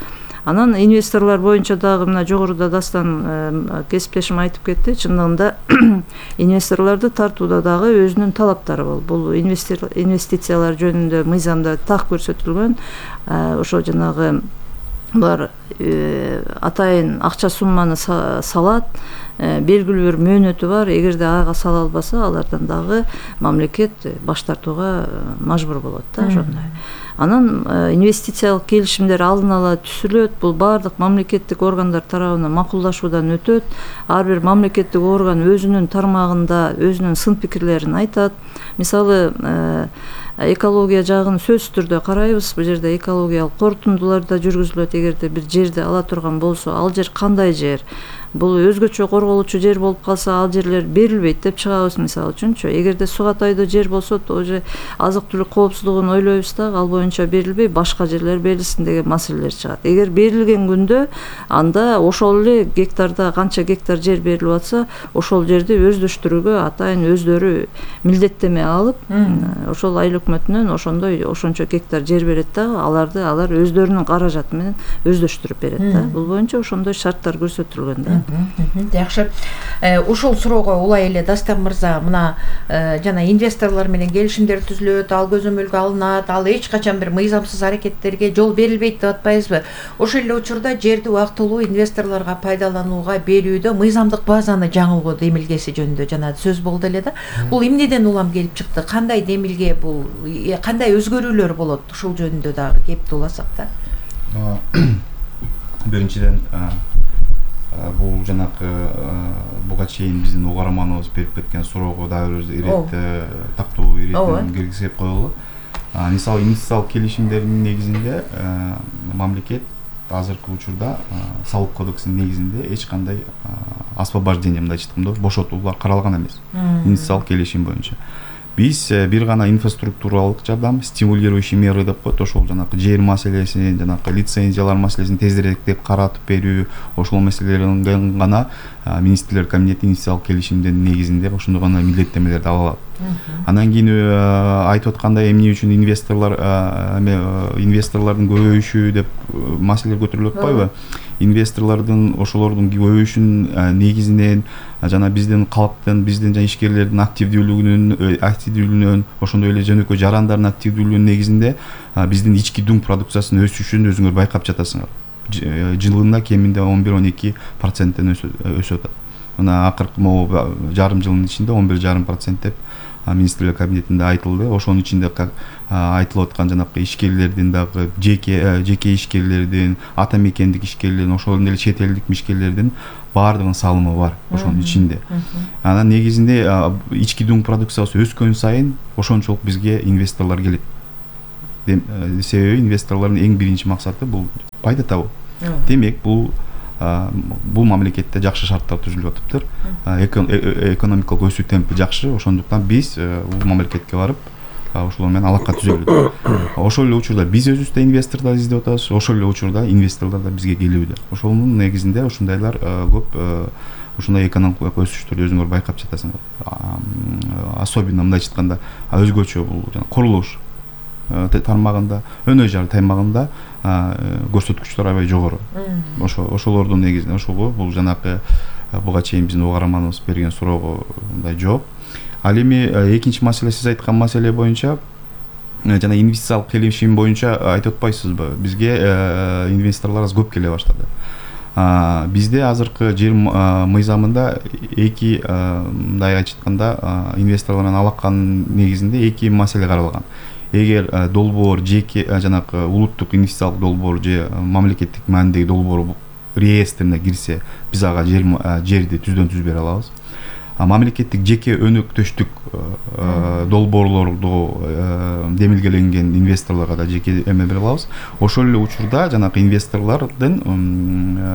Анан инвесторлор боюнча дагы мына жогоруда Дастан кесиптешим айтып кетти. Чындыгында инвесторлорду тартууда дагы өзүнүн талаптары бол. Бул инвестициялар жөнүндө мыйзамда так көрсөтүлгөн. Ошо жанагы булар атайын акча сумманы салат, белгилүү бир мөөнөтү бар. Эгерде ага сала албаса, алардан дагы мамлекет баш тартууга мажбур болот да, ошондой. Анан инвестициялык келишимдер алдын ала түзүлөт. Бул баардык мамлекеттик органдар тарабынан макулдашуудан өтөт. Ар бир мамлекеттик орган өзүнүн тармагында өзүнүн сын пикирлерин айтат. Мисалы экология жагын сөзсүз түрдө карайбыз. Бул жерде экологиялык корутундулар да жүргүзүлөт. Эгерде бир жерди ала турган болсо, ал жер кандай жер? Бул өзгөчө корголучу жер болуп калса, ал жерлер берилбейт деп чыгабыз мисалы үчүнчү. Эгерде суга тайдуу жер болсо, уже азык-түлүк коопсуздугун ойлойбуз да, ал боюнча берилбей, башка жерлер берилсин деген маселелер чыгат. Эгер берилген күндө, анда ошол эле гектарда канча гектар жер берилип атса, ошол жерди өздөштүрүүгө атайын өздөрү милдеттеме алып, ошол айыл өкмөтүнөн ошончо гектар жер берет да, алар өздөрүнүн каражаты менен өздөштүрүп берет да. Бул боюнча ошондой шарттар көрсөтүлгөн да. Жакшы. Ушул суроого улай эле Дастан мырза, мына жана инвесторлор менен келишимдер түзүлөт, ал көзөмөлгө алынат, ал эч качан бир мыйзамсыз аракеттерге жол берилбейт деп атпайбызбы? Ошол эле учурда жерди убактылуу инвесторлорго пайдаланууга берүүдө мыйзамдык базаны жаңылгоо демилгеси жөнүндө жана сөз болду эле да. Бул эмнеден улам келип чыкты? Кандай демилге бул? Кандай өзгөрүүлөр болот? Ушул жөнүндө дагы кеп уласак да. Биринчиден бул жанакы буга чейин биздин угарманыбыз берип кеткен суроого дагы ирет тактоо ирет киргизип коелу. Мисалы инвестициялык келишимдердин негизинде мамлекет азыркы учурда салык кодексинин негизинде эч кандай освобождение, мындай айтканда бошотуулар каралган эмес инвестициялык келишим боюнча. Биз бир гана инфраструктуралык жардам, стимулирующий меры деп коет, ошол жанакы жер маселесин, жанакы лицензиялар маселесин тезирээктеп каратып берүү, ошол маселелерин гана министрлер комитети инвестициялык келишимдин негизинде ошондой гана милдеттемелерди ала алат. Анан кийин айтып аткандай эмне үчүн инвесторлордун көбөйүшү деп маселелер көтөрүлүп атпайбы? Инвесторлордун ошолордун көбөйүшүнүн негизинен жана биздин калктын, биздин жана ишкерлердин активдүүлүгүнөн, ошондой эле жөнөкөй жарандардын активдүүлүгүнүн негизинде биздин ички дүң продукциясынын өсүшүн өзүңөр байкап жатасыңар. Жылына кеминде 11-12% өсүп атат. Мына акыркы жарым жылдын ичинде 11,5% деп министрлер кабинетинде айтылды. Ошонун ичинде айтылып аткан жанагы ишкерлердин дагы жеке ишкерлердин, ата мекендик ишкерлердин, ошол эле чет элдик ишкерлердин баардыгынын салымы бар ошонун ичинде. Анан негизинде ички дуң продукциясы өскөн сайын ошончолук бизге инвесторлор келет. Себеби инвесторлордун эң биринчи максаты бул пайда табуу. Демек бул мамлекетте жакшы шарттар түзүлүп атыптыр. Экономикалык өсүү темпи жакшы, ошондуктан биз бул мамлекетке барып ошолор менен алака түзөлү. Ошол эле учурда биз өзүбүз да инвесторлор издеп атабыз, ошол эле учурда инвесторлор да бизге келүүдө. Ошонун негизинде ушундайлар көп ушундай экономикалык өсүштөрдү өзүңөр байкап жатасыңар. Особенно мындайча айтканда өзгөчө бул курулуш тармагында, өнөр жай тармагында көрсөткүчтөр аябай жогору. Ошолордун негизинде ошого бул жанакы буга чейин биздин угарманыбыз берген суроого мындай жооп. Ал эми экинчи маселе, сиз айткан маселе боюнча жана инвестициялык келишим боюнча айтып атпайсызбы? Бизге инвесторлор аз көп келе баштады. Бизде азыркы жер мыйзамында эки мындай айтканда инвесторлор менен алаканын негизинде эки маселе каралган. Эгер долбоор жеке жанакы улуттук инвестициялык долбоор же мамлекеттик маанидеги долбоор реестрине кирсе, биз ага жерди түздөн-түз бере алабыз. Мамлекеттик жеке өнөктөштүк долбоорлорду демилгеленген инвесторлорго да жеке эме бере алабыз. Ошол эле учурда жанакы инвесторлордун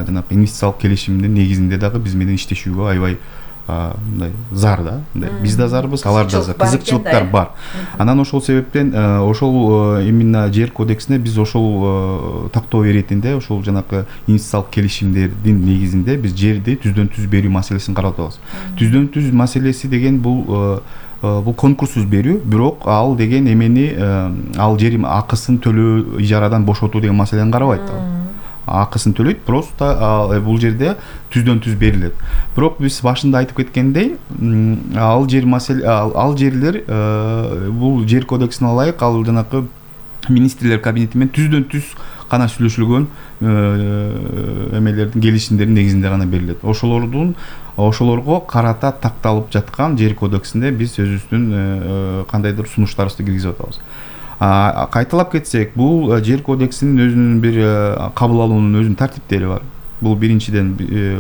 жанакы инвестициялык келишимдин негизинде дагы биз менен иштешүүгө аябай мындай зар да. Биз да зарбыз, алар да зар. Кызыкчылыктар бар. Анан ошол себептен ошол именно жер кодексине биз ошол тактоо иретинде ошол жанакы инвестициялык келишимдердин негизинде биз жерди түздөн-түз берүү маселесин карап атабыз. Түздөн-түз маселеси деген бул конкурссуз берүү, бирок ал деген эмени ал жер акысын төлөө, ижарадан бошотуу деген маселени карабайт. Акысын төлөйт, просто бул жерде түздөн-түз берилет. Бирок биз башында айтып кеткендей, ал жерлер бул жер кодексине ылайык ал жанакы министрлер кабинети менен түздөн-түз гана сүйлөшүлгөн эмелердин келишимдердин негизинде гана берилет. Ошолорго карата такталып жаткан жер кодексинде биз өзүбүздүн кандайдыр сунуштарыбызды киргизип атабыз. Кайталап кетсек, бул жер кодексинин өзүнүн бир кабыл алуунун өзүнүн тартиптери бар. Бул биринчиден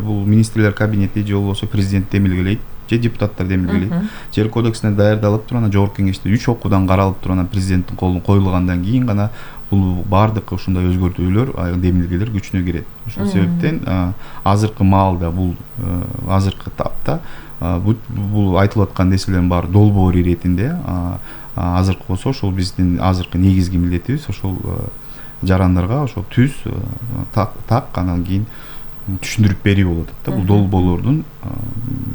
бул министрлер кабинети же болбосо президент демилгелейт, же депутаттар демилгелейт. Жер кодексине даярдалып туруп, анан жогорку кеңеште 3 окуудан каралып туруп, анан президенттин колуна коюлгандан кийин гана бул баардык ушундай өзгөртүүлөр, демилгелер күчүнө кирет. Ошол себептен азыркы маалда бул азыркы тапта бул айтылып аткан нерселердин баары долбоор иретинде. Азыркы болсо ошол биздин азыркы негизги милдетибиз ошол жарандарга ошол түз так анан кийин түшүндүрүп берүү болуп атат да. Бул долбоорлордун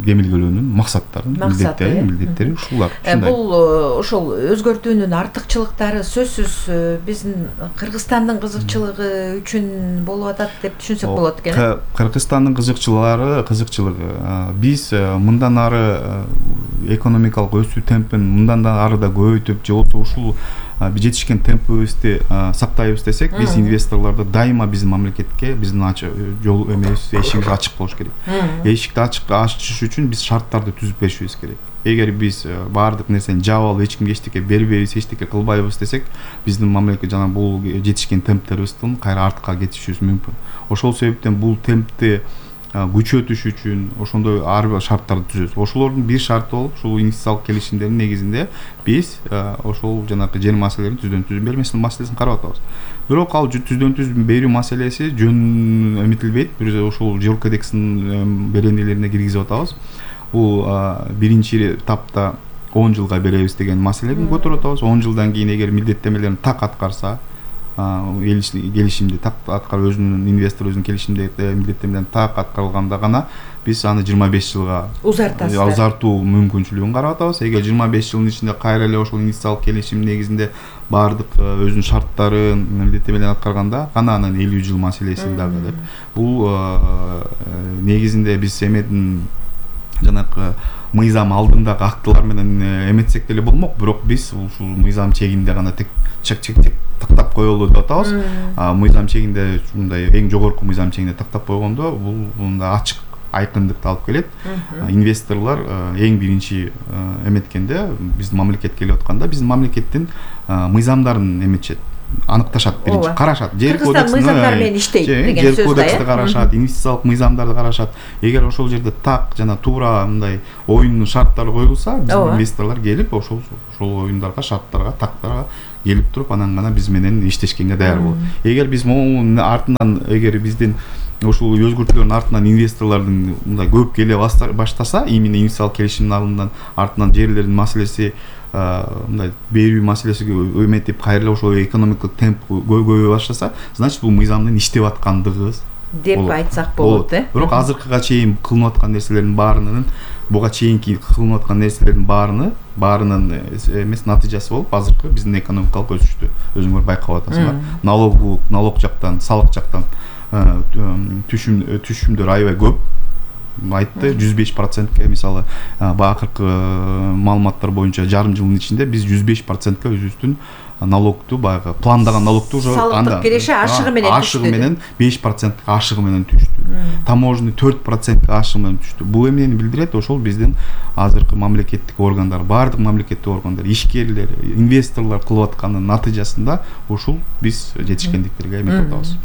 демилгелөөнүн максаттары, милдеттери ушулар. Бул ошол өзгөртүүнүн артыкчылыктары сөзсүз биздин Кыргызстандын кызыкчылыгы үчүн болуп атат деп түшүнсөк болот экен. Кыргызстандын кызыкчылыгы биз мындан ары экономикалык өсүү темпин мындан да ары да көбөйтүп, же болбосо ушул жетишкен темпибизди сактайбыз десек, биз инвесторлорду дайыма биздин мамлекетке биздин жол эмебиз, эшигибиз ачык болуш керек. Эшикти ачыш үчүн биз шарттарды түзүп беришибиз керек. Эгер биз баардык нерсени жаап алып, эч кимге эчтеке бербейбиз, эчтеке кылбайбыз десек, биздин мамлекет жана бул жетишкен темптерибиздин кайра артка кетишибиз мүмкүн. Ошол себептен бул темпти күчөтүш үчүн ошондой ар бир шарттарды түзөбүз. Ошолордун бир шарты болуп, ушул инвестициялык келишимдердин негизинде биз ошол жанакы жер маселелерин түздөн-түз берүү маселесин карап атабыз. Бирок ал түздөн-түз берүү маселеси жөн эметилбейт. Биз ошол жер кодексинин беренелерине киргизип атабыз. Бул биринчи этапта 10 жылга беребиз деген маселени көтөрүп атабыз. 10 жылдан кийин эгер милдеттемелерин так аткарса, келишимди так аткарып, өзүнүн инвестор өзүнүн келишимде милдеттемелерин так аткарылганда гана биз аны 25 жылга узартуу мүмкүнчүлүгүн карап атабыз. Эгер 25 жылдын ичинде кайра эле ошол инвестициялык келишим негизинде баардык өзүнүн шарттарын, милдеттемелерин аткарганда гана анан 50 жыл маселеси дагы деп. Бул негизинде биз эмедин жанакы мыйзам алдындагы актылар менен эметсек деле болмок, бирок биз ушул мыйзам чегинде гана чек тактап коелу деп атабыз. Мыйзам чегинде мындай эң жогорку мыйзам чегинде тактап койгондо бул мындай ачык айкындыкты алып келет. Инвесторлор эң биринчи эметкенде биздин мамлекетке келип атканда биздин мамлекеттин мыйзамдарын эметишет, аныкташат, биринчи карашат. Кыргызстан мыйзамдары менен иштейт деген сөз да. Жер кодексти карашат, инвестициялык мыйзамдарды карашат. Эгер ошол жерде так жана туура мындай оюндун шарттары коюлса, биздин инвесторлор келип ошол оюндарга, шарттарга, тактарга келип туруп, анан гана биз менен иштешкенге даяр болот. Эгер биз могу артынан, эгер биздин ошол өзгөртүүлөрдүн артынан инвесторлордун мындай көп келе баштаса, именно инвестициялык келишимдин алдынан артынан жерлердин маселеси, мындай берүү маселеси өметип, кайра ошол экономикалык темп көбөйө баштаса, значит бул мыйзамдын иштеп аткандыгы деп айтсак болот. Бирок азыркыга чейин кылынып аткан нерселердин баарынын, буга чейинки кылынып аткан нерселердин баарынын эмес натыйжасы болуп, азыркы биздин экономикалык өсүштү өзүңөр байкап атасыңар. Налог жактан, салык жактан түшүмдөр аябай көп. Айтты 105%ке, мисалы акыркы маалыматтар боюнча жарым жылдын ичинде биз 105%ке өзүбүздүн налогту, баягы пландаган налогту салыктык киреше ашыгы менен 5% ашыгы менен түштү. Таможенный 4% ашыгы менен түштү. Бул эмнени билдирет? Ошол биздин азыркы мамлекеттик органдар, баардык мамлекеттик органдар, ишкерлер, инвесторлор кылып атканын натыйжасында ушул биз жетишкендиктерге эмет атабыз.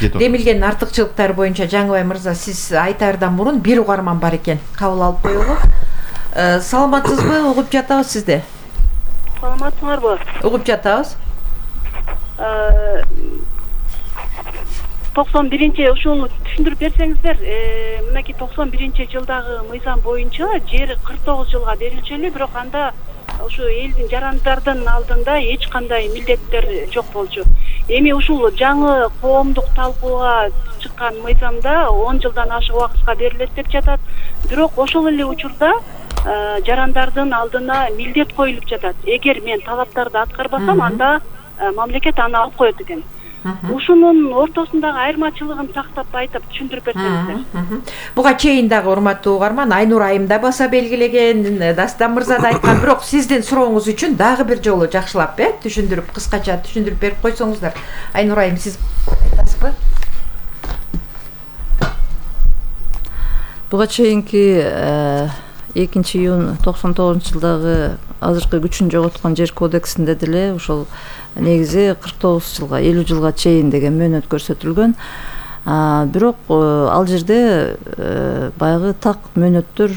Демилгендин артыкчылыктары боюнча Жаңыбай мырза, сиз айтаардан мурун бир угарман бар экен, кабыл алып коелу. Саламатсызбы? Угуп жатабыз сизди. Саламатсыңарбы? Угуп жатабыз. 91-нчи ушул түшүндүрүп берсеңиздер, мынакей 91-нчи жылдагы мыйзам боюнча жер 49 жылга берилчү, бирок анда ушу элдин жарандардын алдында эч кандай милдеттер жок болчу. Эми ушул жаңы коомдук талкууга чыккан мыйзамда 10 жылдан ашык убакытка берилет деп жатат. Бирок ошол эле учурда жарандардын алдына милдет коюлуп жатат. Эгер мен талаптарды аткарбасам, анда мамлекет аны алып коет экен. Ушунун ортосундагы айырмачылыгын тактап айтып түшүндүрүп берсеңиздер. Буга чейин дагы урматтуу угарман Айнур айым да баса белгилеген, Дастан мырза да айткан, бирок сиздин сурооңуз үчүн дагы бир жолу жакшылап түшүндүрүп, кыскача түшүндүрүп берип койсоңуздар. Айнур айым, сиз айтасызбы? Буга чейинки 2-июнь 99-жылдагы азыркы күчүн жоготкон жер кодексинде деле ошол негизи 49 жылга, 50 жылга чейин деген мөөнөт көрсөтүлгөн. Бирок ал жерде баягы так мөөнөттөр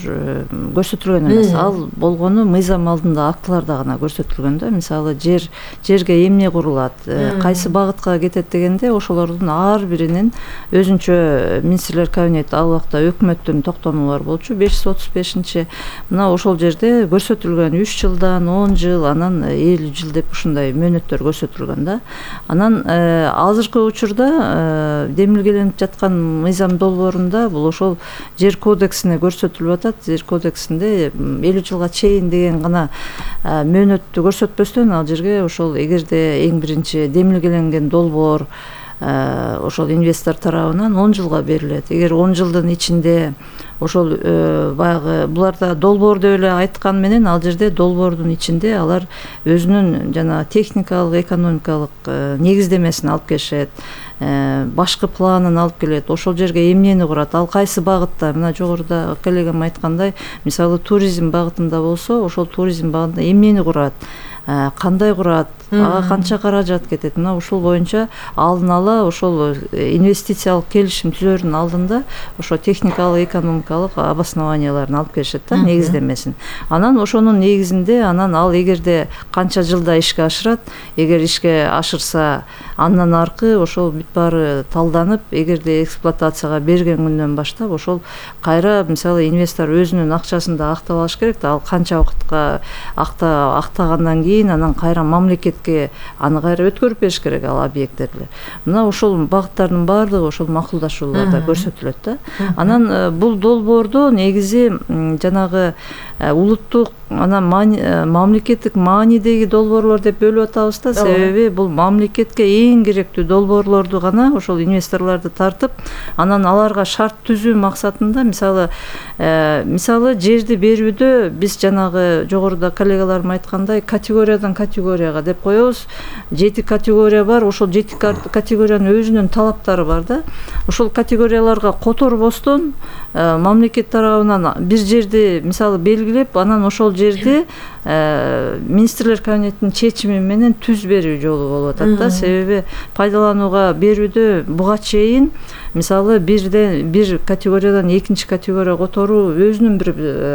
көрсөтүлгөн эмес. Ал болгону мыйзам алдында актыларда гана көрсөтүлгөн да. Мисалы жерге эмне курулат, кайсы багытка кетет дегенде ошолордун ар биринин өзүнчө министрлер кабинети ал убакта өкмөттүн токтомолору болчу. 535-чи мына ошол жерде көрсөтүлгөн 3 жылдан 10 жыл, анан 50 жыл деп ушундай мөөнөттөр көрсөтүлгөн да. Анан азыркы учурда демилгеленип жаткан мыйзам долбоорунда бул ошол жер кодексине көрсөтүлүп атат. Жер кодексинде 50 жылга чейин деген гана мөөнөттү көрсөтпөстөн ал жерге ошол эгерде эң биринчи демилгеленген долбоор ошол инвестор тарабынан 10 жылга берилет. Эгер 10 жылдын ичинде ошол баягы буларда долбоор деп эле айткан менен ал жерде долбоордун ичинде алар өзүнүн жана техникалык, экономикалык негиздемесин алып келишет, башкы планын алып келет, ошол жерге эмнени курат, ал кайсы багытта. Мына жогоруда коллегам айткандай, мисалы туризм багытында болсо, ошол туризм багытында эмнени курат, кандай курат, ага канча каражат кетет. Мына ушул боюнча алдын ала ошол инвестициялык келишим түзөрдүн алдында ошо техникалык, экономикалык обоснованияларын алып келишет да, негиздемесин. Анан ошонун негизинде ал эгерде канча жылда ишке ашырат, эгер ишке ашырса андан аркы ошол бүт баары талданып, эгерде эксплуатацияга берген күндөн баштап ошол кайра мисалы инвестор өзүнүн акчасын да актап алыш керек да. Ал канча убакытка актагандан кийин анан кайра мамлекетке аны кайра өткөрүп бериш керек ал объекттерди. Мына ошол багыттардын баардыгы ошол макулдашууларда көрсөтүлөт да. Анан бул долбоордо негизи жанагы улуттук анан мамлекеттик маанидеги долбоорлор деп бөлүп атабыз да. Себеби бул мамлекетке эң керектүү долбоорлорду гана ошол инвесторлорду тартып, анан аларга шарт түзүү максатында мисалы жерди берүүдө биз жанагы жогоруда коллегаларым айткандай категориядан категорияга деп коебуз. 7 категория бар. Ошол 7 категориянын өзүнүн талаптары бар да. Ошол категорияларга которбостон мамлекет тарабынан бир жерди мисалы белгилеп, анан ошол жерде министрлер кабинетинин чечими менен түз берүү жолу болуп атат да. Себеби пайдаланууга берүүдө буга чейин мисалы бир категориядан экинчи категорияга которуу өзүнүн бир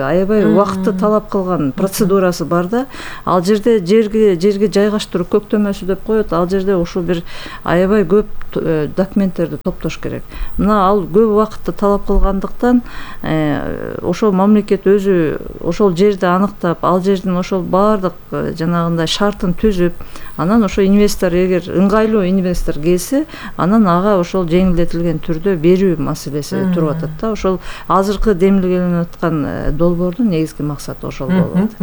аябай убакытты талап кылган процедурасы бар да. Ал жерде жерге жайгаштыруу көктөмөсү деп коет. Ал жерде ушул бир аябай көп документтерди топтош керек. Мына ал көп убакытты талап кылгандыктан ошол мамлекет өзү ошол жерди аныктап, ал жердин ошол баардык жанагындай шартын түзүп, анан ошо инвестор эгер ыңгайлуу инвестор келсе, анан ага ошол жеңилдетилген түрдө берүү маселеси туруп атат да. Ошол азыркы демилгеленип аткан долбоордун негизги максаты ошол болуп атат.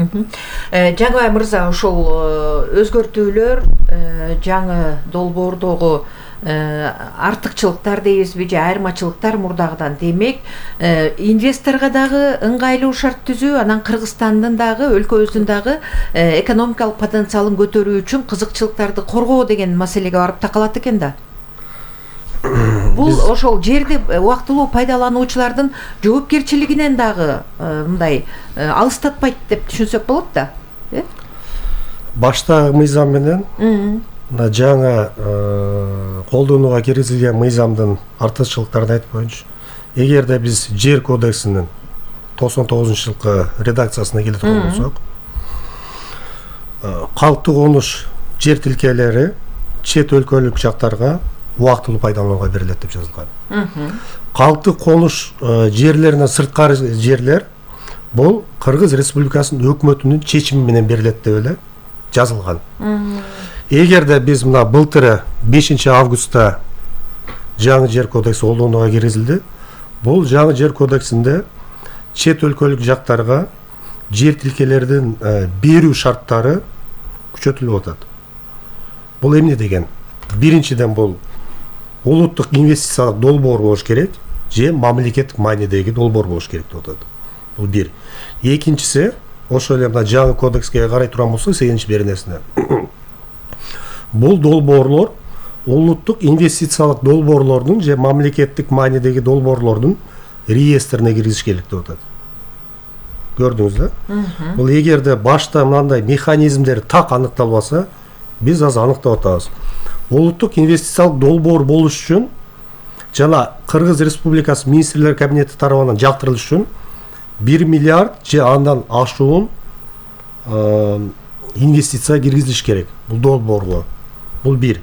Жагыбай мырза, ошол өзгөртүүлөр жаңы долбоордогу артыкчылыктар дейбизби же айырмачылыктар мурдагыдан, демек инвесторго дагы ыңгайлуу шарт түзүү, анан Кыргызстандын дагы өлкөбүздүн дагы экономикалык потенциалын көтөрүү үчүн кызыкчылыктарды коргоо деген маселеге барып такалат экен да. Бул ошол жерди убактылуу пайдалануучулардын жоопкерчилигинен дагы мындай алыстатпайт деп түшүнсөк болот да. Баштагы мыйзам менен жаңы колдонууга киргизилген мыйзамдын артыкчылыктарын айтып коеюнчу. Эгерде биз жер кодексинин 99-жылкы редакциясына келип болсок, калктуу конуш жер тилкелери чет өлкөлүк жактарга убактылуу пайдаланууга берилет деп жазылган. Калктуу конуш жерлеринен сырткары жерлер бул Кыргыз Республикасынын өкмөтүнүн чечими менен берилет деп эле жазылган. Эгерде биз мына былтыр 5 августта жаңы жер кодекси колдонууга киргизилди, бул жаңы жер кодексинде чет өлкөлүк жактарга жер тилкелердин берүү шарттары күчөтүлүп атат. Бул эмне деген? Биринчиден бул улуттук инвестициялык долбоор болуш керек же мамлекеттик маанидеги долбоор болуш керек деп атат. Бул бир. Экинчиси, ошол эле мына жаңы кодекске карай турган болсок, 8-бир нерсе. Бул долбоорлор улуттук инвестициялык долбоорлордун же мамлекеттик маанидеги долбоорлордун реестрине киргизиш керек деп атат. Көрдүңүз да? Бул эгерде башта мындай механизмдер так аныкталбаса, биз азыр аныктап атабыз. Улуттук инвестициялык долбоор болуш үчүн жана Кыргыз Республикасы министрлер кабинети тарабынан жактырылыш үчүн 1 миллиард же андан ашуун инвестиция киргизилиш керек бул долбоорго. Бул бир.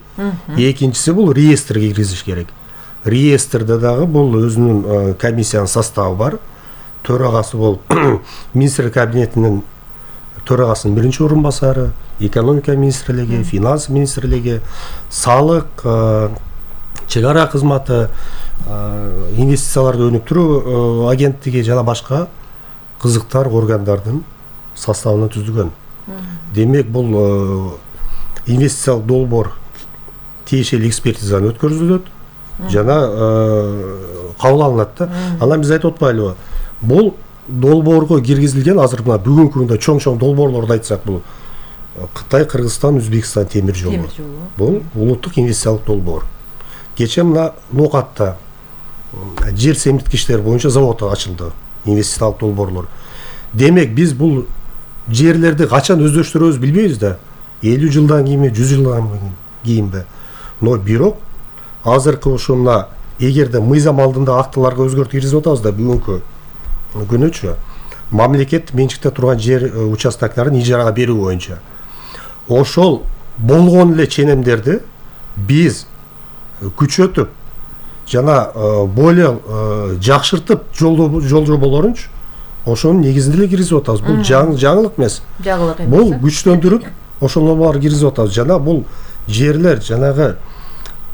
Экинчиси бул реестрге киргизиш керек. Реестрде дагы бул өзүнүн комиссиянын составы бар. Төрагасы бул министрлер кабинетинин төрагасынын биринчи орун басары, экономика министрлиги, финанс министрлиги, салык, чек ара кызматы, инвестицияларды өнүктүрүү агенттиги жана башка кызыктар органдардын составынан түзүлгөн. Демек бул инвестициялык долбоор тиешелүү экспертизадан өткөрүлөт жана кабыл алынат да. Анан биз айтып атпайлыбы? Бул долбоорго киргизилген азыр мына бүгүнкү күндө чоң долбоорлорду айтсак, бул Кытай, Кыргызстан, Өзбекстан темир жолу. Бул улуттук инвестициялык долбоор. Кече мына Нокатта жер семирткичтер боюнча завод ачылды, инвестициялык долбоорлор. Демек биз бул жерлерди качан өздөштүрөбүз билбейбиз да. 50 жылдан кийинби, 100 жылдан кийинби. Но бирок азыркы ушул мына эгерде мыйзам алдында актыларга өзгөртүү киргизип атабыз да, бүгүнкү күнүчө мамлекет менчикте турган жер участоктарын ижарага берүү боюнча ошол болгон эле ченемдерди биз күчөтүп жана более жакшыртып жолжоболорунчу ошонун негизинде эле киргизип атабыз. Бул жаңылык эмес. Бул күчтөндүрүп ошол нормаларды киргизип атабыз. Жана бул жерлер жанагы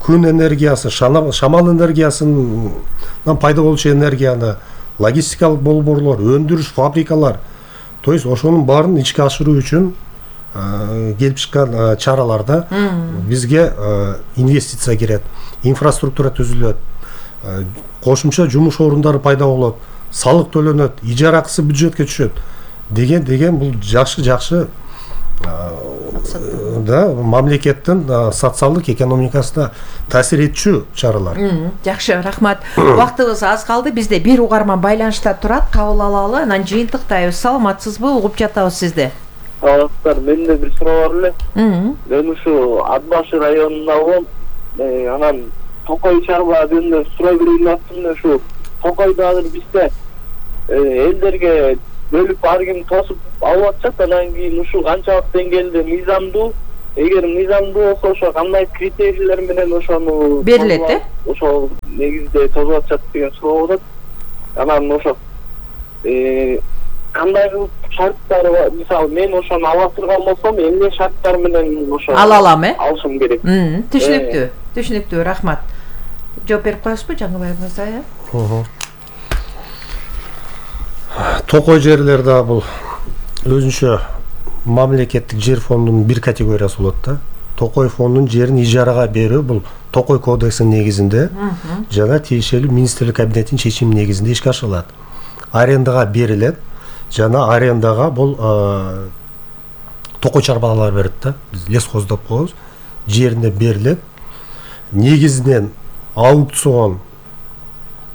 күн энергиясы, шамал энергиясынан пайда болчу энергияны, логистикалык болбоорлор, өндүрүш фабрикалар, то есть ошонун баарын ичке ашыруу үчүн келип чыккан чараларда бизге инвестиция кирет, инфраструктура түзүлөт, кошумча жумуш орундары пайда болот, салык төлөнөт, ижара акысы бюджетке түшөт деген бул жакшы максаты. да мамлекеттин социалдык экономикасына таасир этчү чаралар. Жакшы, рахмат. Убактыбыз аз калды. Бизде бир угарман байланышта турат. Кабыл алалы, анан жыйынтыктайбыз. Саламатсызбы? Угуп жатабыз сизди. Саламатсыздар. Менде бир суроо бар эле. Мен ушу Ат башы районунда болом. Анан Токой чарба жөнүндө суроо берейин деп аттым. Ушу Токойдо азыр бизде элдерге бөлүп ар ким тосуп алып атышат. Анан кийин ушул канчалык деңгээлде мыйзамдуу, эгер мыйзамдуу болсо ошо кандай критерийлер менен ошону берилет, ошол негизде тосуп атышат деген суроо болот. Анан ошо кандай кылып шарттары бар? Мисалы мен ошону ала турган болсом, эмне шарттар менен ошо ала алам, алышым керек? Түшүнүктүү. Түшүнүктүү, рахмат. Жооп берип коесузбу Жаңыбай мырза? Токой жерлерде бул өзүнчө мамлекеттик жер фондунун бир категориясы болот да. Токой фондунун жерин ижарага берүү бул Токой кодексинин негизинде жана тиешелүү министрлик кабинетинин чечими негизинде ишке ашырылат. Арендага берилет жана арендага бул Токой чарбалар берет да. Биз лесхоз деп коебуз. Жеринде берилет. Негизинен аукцион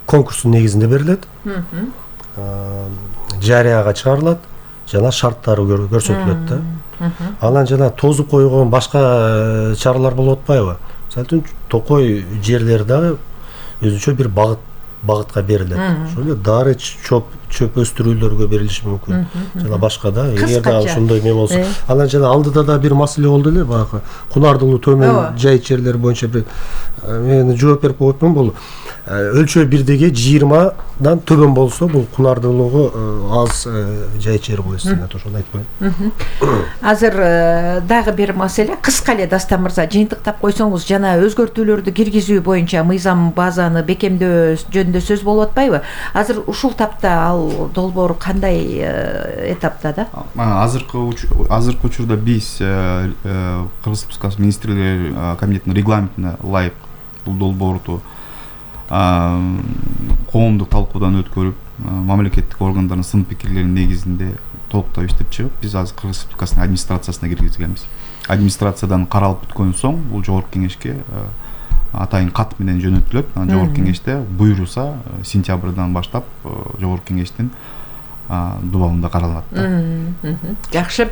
конкурстун негизинде берилет. Жарыяга чыгарылат жана шарттары көрсөтүлөт да. Анан жана тозуп койгон башка чаралар болуп атпайбы? Мисалы үчүн Токой жерлери дагы өзүнчө бир багытка берилет. Ошол эле дары чөп өстүрүүлөргө берилиши мүмкүн. Жана башка да, эгер да ошондой эме болсо. Анан жана алдыда да бир маселе болду эле, баягы Кунардылуу төмөн жайыт жерлери боюнча бир мен жооп берип коймун. Бул өлчөө бирдеги 20дан төбөн болсо бул Кунардылууга аз жайыт жер болот эсептелет, ошону айтпайм. Азыр дагы бир маселе, кыска эле Дастан мырза жыйынтыктап койсоңуз, жана өзгөртүүлөрдү киргизүү боюнча мыйзам базаны бекемдөө жөнүндө сөз болуп атпайбы? Азыр ушул тапта ал долбоор кандай этапта да? Азыркы учурда биз Кыргыз Республикасы министрлер кабинетинин регламентине ылайык бул долбоорду коомдук талкуудан өткөрүп, мамлекеттик органдардын сын пикирлеринин негизинде толуктап иштеп чыгып, биз азыр Кыргыз Республикасынын администрациясына киргизгенбиз. Администрациядан каралып бүткөн соң бул жогорку кеңешке атайын кат менен жөнөтүлөт. Анан жогорку кеңеште буйруса сентябрдан баштап жогорку кеңештин дубалында каралат. Жакшы.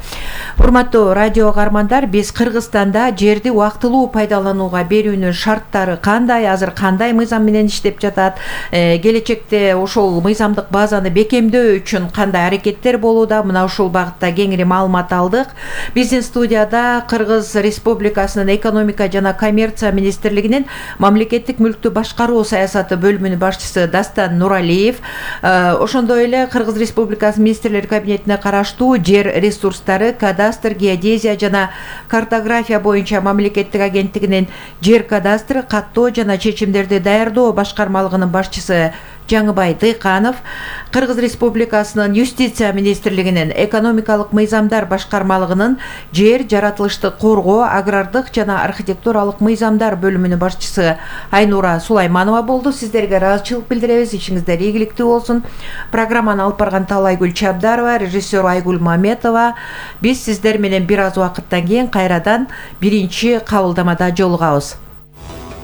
Урматтуу радио угармандар, биз Кыргызстанда жерди убактылуу пайдаланууга берүүнүн шарттары кандай, азыр кандай мыйзам менен иштеп жатат, келечекте ошол мыйзамдык базаны бекемдөө үчүн кандай аракеттер болууда, мына ушул багытта кеңири маалымат алдык. Биздин студияда Кыргыз Республикасынын экономика жана коммерция министрлигинин мамлекеттик мүлктү башкаруу саясаты бөлүмүнүн башчысы Дастан Нуралиев, ошондой эле Кыргыз Республикасы министрлер кабинетине караштуу жер ресурстары, кадастр, геодезия жана картография боюнча мамлекеттик агенттигинин жер кадастры, каттоо жана чечимдерди даярдоо башкармалыгынын башчысы Жаңыбай Дыйканов, Кыргыз Республикасынын юстиция министрлигинин экономикалык мыйзамдар башкармалыгынын жер, жаратылышты коргоо, агрардык жана архитектуралык мыйзамдар бөлүмүнүн башчысы Айнура Сулайманова болду. Сиздерге ыраазычылык билдиребиз. Ишиңиздер ийгиликтүү болсун. Программаны алып барган Талайгүл Чабдарова, режиссер Айгүл Маметова. Биз сиздер менен бир аз убакыттан кийин кайрадан биринчи кабылдамада жолугабыз.